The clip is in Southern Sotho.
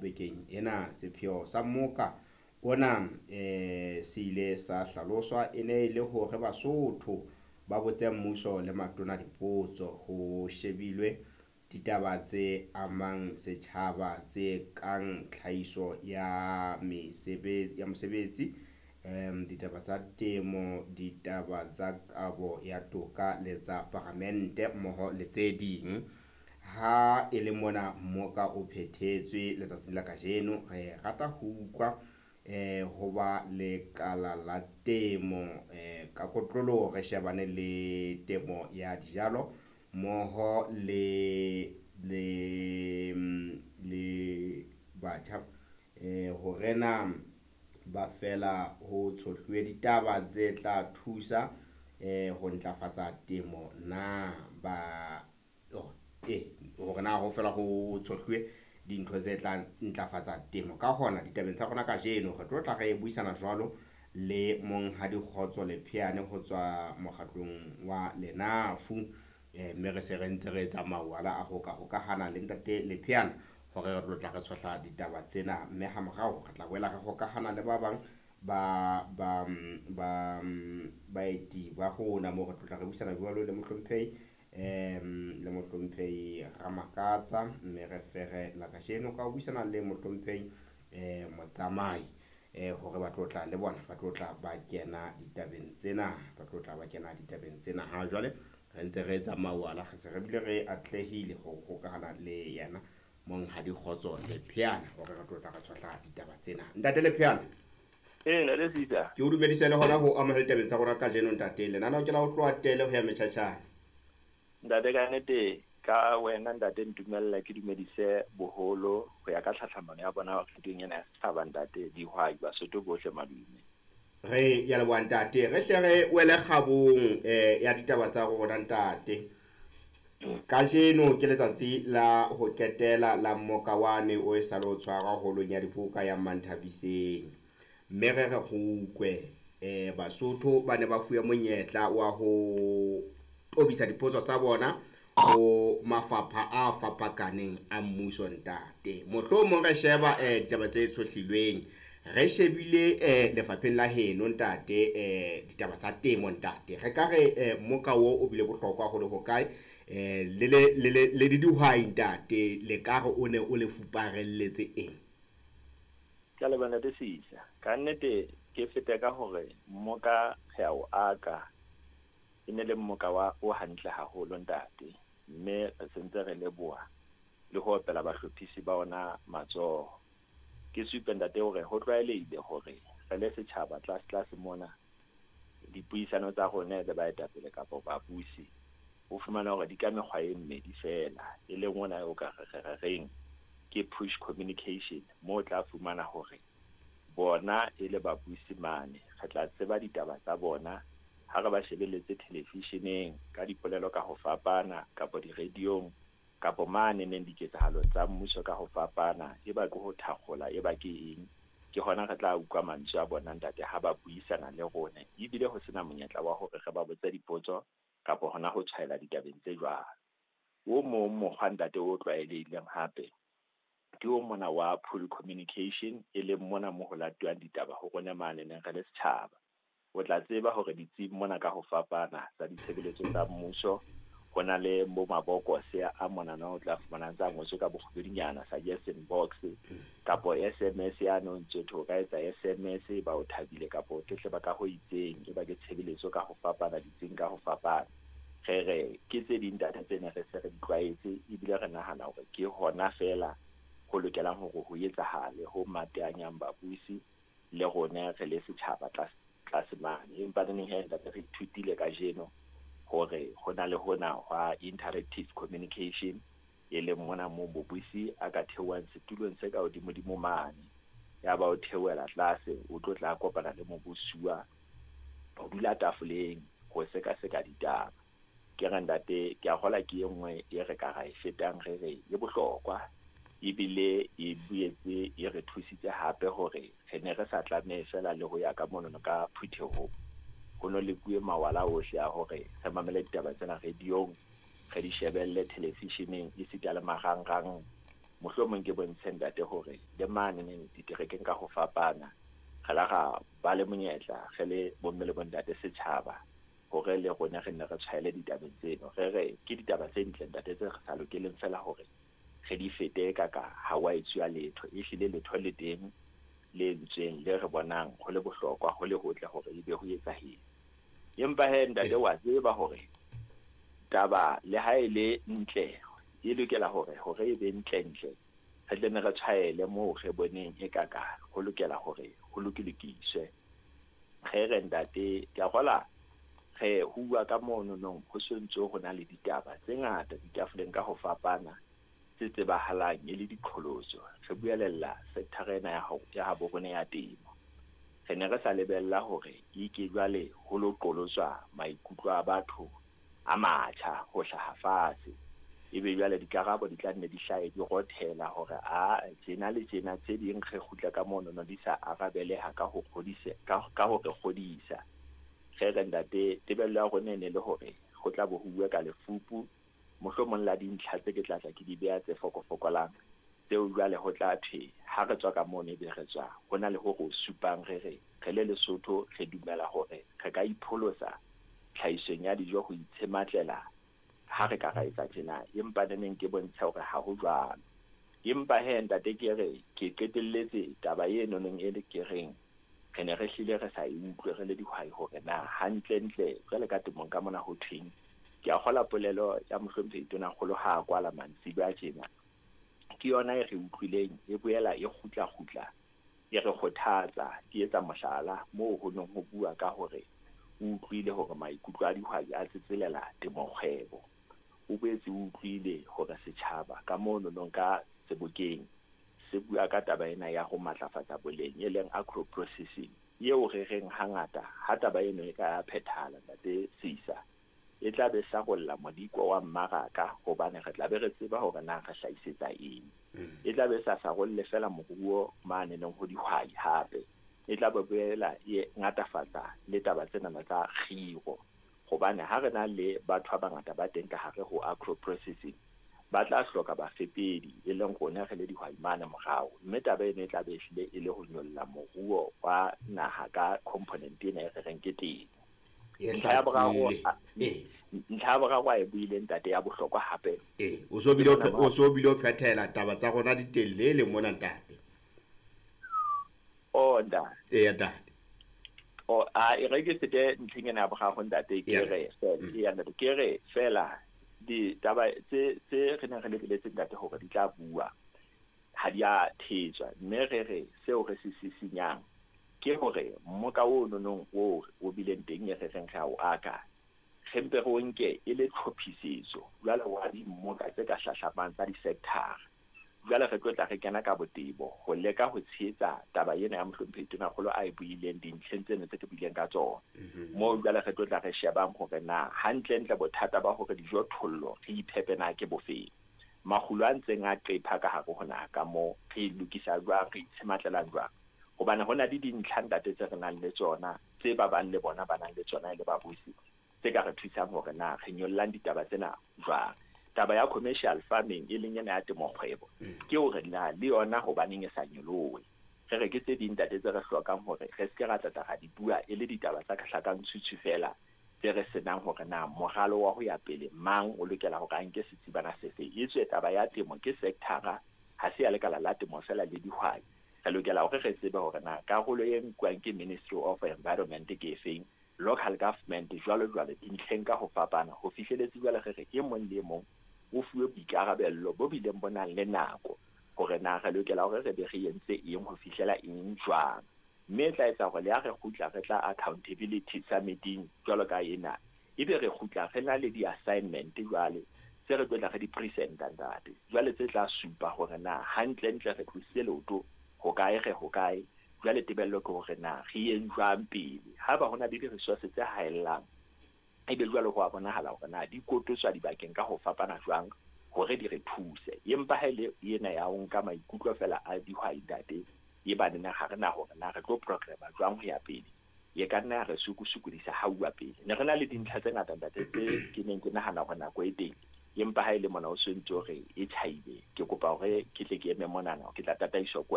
Bekeng ena sepheo sa mmoka ona se ile sa hlaloswa e ne e le hore Basotho ba botse mmuso le matona dipotso ho shebilwe ditaba tse amang setjhaba tse kang tlhahiso ya mosebetsi, ditaba tsa temo, ditaba tsa kabo ya toka le tsa paramente mmoho le tse ding. Ha e le mona mmoka o phethetswe letsatsing la kajeno, re rata ho utlwa ho ba lekala la temo ka kotloloho re shebane le temo ya dijalo mmoho le batjha hore na ba fela ho tshohluwe ditaba tse tla thusa ho ntlafatsa temo na ba hore na ho fela ho tshohluwe dintho tse tla ntlafatsa temo. Ka hona ditabeng tsa rona kajeno re tlo tla re buisana jwalo le Monghadi Kgotso Lepheane ho tswa mokgatlong wa Lenafu, mme re se re ntse re etsa mawala a ho ka hokahana le ntate Lepheane hore re tlo tla re tshohla ditaba tsena, mme ha morao re tla boela re hokahana le ba bang ba baeti ba rona moo re tlo tla re buisana jwalo le mohlomphehi Ramakatsa, mme re fere la kajeno ka ho buisana le mohlomphehi Motsamai hore ba tlo tla le bona, ba tlo tla ba kena ditabeng tsena, ba tlo tla ba kena ditabeng tsena. Ha jwale re ntse re etsa mawala, re se re bile re atlehile ho hokahana le yena Monghadi Kgotso Lepheane hore re tlo tla re tshohla ditaba tsena. Ntate Lepheane, ntate Sisa, ke o dumedise le hona ho amohela ditabeng tsa rona kajeno ntate. Lenaneo ke la ho tloha tele ho ya metjhatjhane. Ntate, ka nnete ka wena ntate ntumella ke dumedise boholo ho ya ka tlhatlhamano ya bona radiong ena ya setjhaba ntate, dihwai, Basotho bohle madume. Re ya leboha ntate, re hle re wele kgabong ya ditaba tsa rona ntate. Kajeno ke letsatsi la ho qetela la mmoka wane o e sa le o tshwarwa holong ya dibuka ya Manthabiseng, mme re re kgukwe Basotho ba ne ba fuwe monyetla wa ho tobisa dipotso tsa bona ho mafapha a fapakaneng a mmuso ntate. Mohlomong re sheba ditaba tse tshohlilweng, re shebile lefapheng la heno ntate, ditaba tsa temo ntate. Re ka re mmoka wo o bile bohlokwa ho le hokae le dihwai ntate, le ka re o ne o le fuparelletse eng? Ke a leboha ntate Sisa. Ka nnete ke fete ka hore mmoka re a o aka, e ne le mmoka wa o hantle haholo ntate, mme re sentse re leboha le ho opela bahlophisi ba ona matsoho. Ke supe ntate hore ho tlwaelehile hore re le setjhaba tlase tlase mona dipuisano tsa rona le baetapele kapa babusi o fumana hore di ka mekgwa e mmedi fela, e leng ona o ka re reng ke push communication, moo o tla fumana hore bona e le babusi mane re tla tseba ditaba tsa bona ha re ba shebelletse televisioneng ka dipolelo ka ho fapana, kapa di-radiong, kapa mane neng diketsahalong tsa mmuso ka ho fapana, e ba ke ho thakgola, e ba ke eng. Ke hona re tla utlwa mantswe a bona ntate ha ba buisana le rona, ebile ho sena monyetla wa hore re ba botse dipotso kapa hona ho tshwaela ditabeng tse jwalo. O mong mokgwa ntate o tlwaelehileng hape ke o mona wa pull communication, e leng mona mo ho latuwang ditaba ho rona mane neng re le setjhaba. O tla tseba hore ditsing mona ka ho fapana tsa ditshebeletso tsa mmuso ho na le bo mabokose a monana o tla fumana tsa ngotswe ka bokgubedunyana, suggestion box kapo SMS ya no ntse o ka etsa SMS ba o thabile kapo o tletleba ka ho itseng, e ba ke tshebeletso ka ho fapana ditsing ka ho fapana. Re re ke tse ding data tsena re se re di tlwaetse, ebile re nahana hore ke hona fela ho lokelang hore ho etsahale ho mateanyang babusi le rona re le setjhaba tlase mane. Empa neneng he ntate re ithutile kajeno hore ho na le hona hwa interactive communication, e leng mona moo mobusi a ka theohang setulong se ka hodimodimo mane, ya ba o theohela tlase, o tlo tla kopana le mobusuwa ho dula tafoleng ho sekaseka ditaba. Ke re ntate, ke a kgolwa ke e nngwe e re ka ra e fetang re re e bohlokwa, ebile e boetse e re thusitse hape hore re ne re sa tlamehe fela le ho ya ka monono ka phuthehong. Ho no lekuwe mawala ohle a hore re mamele ditaba tsena radiong, re di shebelle televisioneng, esita le marangrang. Mohlomong ke bontshe ntate hore le mane neng diterekeng ka ho fapana re la ra ba le monyetla re le bomme le bontate setjhaba hore le rona re nne re tshwaele ditabeng tseno. Re re ke ditaba tse ntle ntate tse re sa lokeleng fela hore re di fete ka ka ha wa etsuwa letho. Ehlile letho le teng le entsweng le re bonang ho le bohlokwa ho le hotle hore ebe ho etsahetse. Empa he ntate wa tseba hore taba le ha e le ntle e lokela hore hore e be ntle-ntle re tle ne re tshwaele moo re boneng e ka ka ho lokela hore ho lokilokiswe. Re re ntate ke a kgola re ho bua ka mono nong ho sontso ho na le ditaba tse ngata ditafoleng ka ho fapana tse tsebahalang e le diqholotso. Re buelella sector ena ya habo rona ya temo. Re ne re sa lebella hore e ke jwale ho lo qolotswa maikutlo a batho a matjha ho hlaha fatshe. Ebe jwale dikarabo di tla nne di hlahe di rothela hore a tjena le tjena tse ding re kgutla ka mono no di sa arabeleha ka ho kgodise ka ho re kgodisa. Re re ntate tebello ya rona e ne le hore ho tla bo ho bua ka lefupu mohlomong la dintlha tse ke tla tla ke di beha tse fokofokolang tseo jwale ho tla thwe ha re tswa ka mono ebe re tswa ho na le ho re supang re re re le Lesotho re dumela hore re ka ipholosa tlhahisong ya dijo ho itshematlela ha re ka ra etsa tjena. Empa neneng ke bontsha hore ha ho jwalo. Empa he ntate ke re ke qetelletse taba eno neng e le ke reng re ne re hlile re sa e utlwe re le dihwai hore na hantlentle jwale ka temong ka mona ho thweng. Ke a kgola polelo ya mohlomphehi Tonakgolo ha a kwala mantsibuya tjena ke yona e re utlwileng e boela e kgutla-kgutla e re kgothatsa. Ke etsa mohlala moo ho neng ho bua ka hore o utlwile hore maikutlo a dihwai a tsetselela temokgwebo. O boetse o utlwile hore setjhaba ka mono nong ka sebokeng se bua ka taba ena ya ho matlafatsa boleng e leng agro processing eo re reng hangata ha taba eno e ka phethahala ntate Sisa e tla be sarolla modiko wa mmaraka hobane re tla be re tseba hore na re hlahisetsa eng. E tla be sa sarolle fela moruo mane neng ho dihwai hape e tla be boela e ngatafatsa le taba tsena tsa kgiro hobane ha re na le batho ba bangata ba teng ka hare ho agro processing ba tla hloka bafepedi e leng rona re le dihwai mane morao, mme taba eno e tla be ehlile e le ho nyolla moruo wa naha ka component ena e re reng ke temo. Ntlha ya boraro a e buileng ntate ya bohlokwa hape. O so bile o phethela taba tsa rona di telele mona ntate. O ntate. Ntate. O a e re ke fete ntlheng ena ya boraro ntate ke re ya ntate ke re fela ditaba tse re neng re lebeletse ntate hore di tla bua ha di a thetswa, mme re re seo re se sisinyang ke hore mmoka o nonong o o bileng teng e re reng re a o aka re mpe re o nke e le tlhophisetso jwale wa dimmoka tse ka hlahlamang tsa di-sector. Jwale re tlo tla re kena ka botebo ho leka ho tshehetsa taba ena ya mohlomphehi Tonakgolo a e buileng dintlheng tseno tse ke buileng ka tsona. Moo jwale re tlo tla re shebang hore na hantlentle bothata ba hore dijothollo re iphepe na ke bofeng. Makgulo a ntseng a qepha ka hare ho naha ka moo re lokisa jwang, re itshematlela jwang. Hobane ho na le dintlha ntate tse re nang le tsona tse ba bang le bona ba nang le tsona e le babusi tse ka re thusang hore na re nyollang ditaba tsena jwang. Taba ya commercial farming e leng ena ya temokgwebo ke hore na le yona hobaneng e sa nyolohe. Re re ke tse ding ntate tse re hlokang hore re se ke ra tlatla ra di bua e le ditaba tsa hlakang tshutshwu fela tse re senang hore na moralo wa ho ya pele mang o lokela hore a nke setsibana sefe. Etswe taba ya temo ke sector-a ha se ya lekala la temo fela le dihwai. Re lokela hore re tsebe hore na karolo e nkuwang ke Ministry of Environment ke efeng, local government jwalo jwalo dintlheng ka ho fapana ho fihleletse jwale re re e mong le e mong o fuwe boikarabello bo bileng bo nang le nako hore na re lokela hore re be re entse eng ho fihlela eng jwang. Mme e tla etsa hore le ha re kgutla re tla accountability summiting jwalo ka ena ebe re kgutla re na le di-assignment jwale tse re tlo tla re di presenta ntate jwale tse tla supa hore na hantlentle re tlositse leoto ho kae re ho kae. Jwale tebello ke hore na re yeng jwang pele ha ba hona le di-resources tse haellang ebe jwale ho a bonahala hore na di kototswa dibakeng ka ho fapana jwang hore di re thuse. Empa ha ele ena ya ho nka maikutlo fela a dihwai ntate e ba nna ha re na hore na re tlo programa jwang ho ya pele e ka nna ya re sukusukodisa ha uwa pele. Ne re na le dintlha tse ngata ntate tse ke neng ke nahana hore nako e teng Empa ha e le mona o so ntse o re e tjhaile, ke kopa hore ke tle ke eme monana, ke tla tataiswa ke wena.